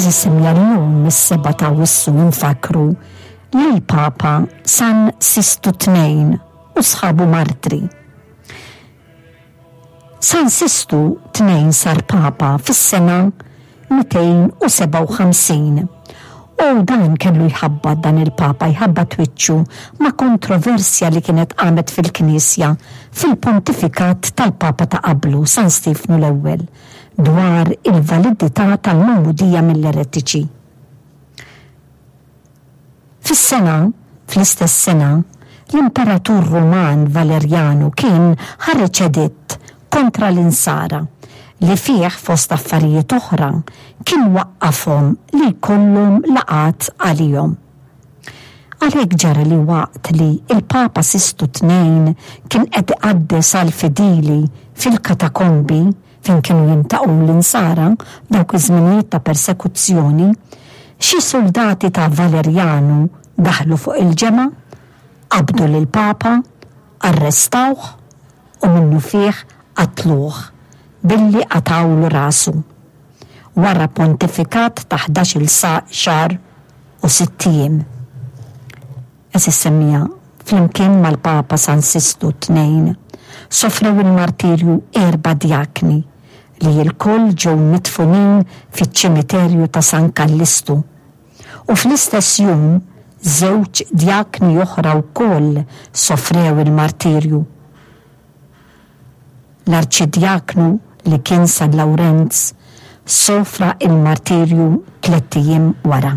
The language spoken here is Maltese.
Għeżież semmiegħa llum is-sebgħa ta' Awwissu nfakkru lill-Papa San Sistu Tnejn u sħabu martri. San Sistu Tnejn sar Papa fis-sena 257 u dan kellu jħabbat dan il-Papa jħabbat wiċċu ma' kontroversja li kienet qamet fil-Knisja fil-pontifikat tal-Papa ta' qablu San Stiefnu l-Ewwel dwar il-validità tal-magħmudija mill-eretiċi. Fis-sena, fl-istess sena, l-Imperatur Ruman Valerjanu kien ħareġ editt kontra l-Insara li fih fost affarijiet oħra kien waqqafhom li jkollhom laqgħat għalihom. Għalhekk ġara li waqt li l-Papa Sistu Tnejn kien qed iqaddes għall-fidili fil-katakombi fejn kienu jintaqgħu l-Insara f'dawk iż-żminijiet ta' persekuzzjoni, xi suldati ta' Valerjanu daħlu fuq il-ġemgħa, qabdu lill-Papa, arrestawh u minnufih qatluh billi qatgħulu rasu. Wara pontifikat ta' ħdax-il xahar u sitt ijiem. Għeżież semmiegħa, flimkien mal-Papa San Sistu Tnejn, sofrew il-martirju erba' djakni li lkoll ġew midfunin fiċ-ċimiterju ta' San Kallistu. U fl-istess jum żewġ djakni oħra wkoll sofrew il-martirju. L-Arċidjaknu li kien San Lawrenz sofra il-martirju tlett ijiem wara.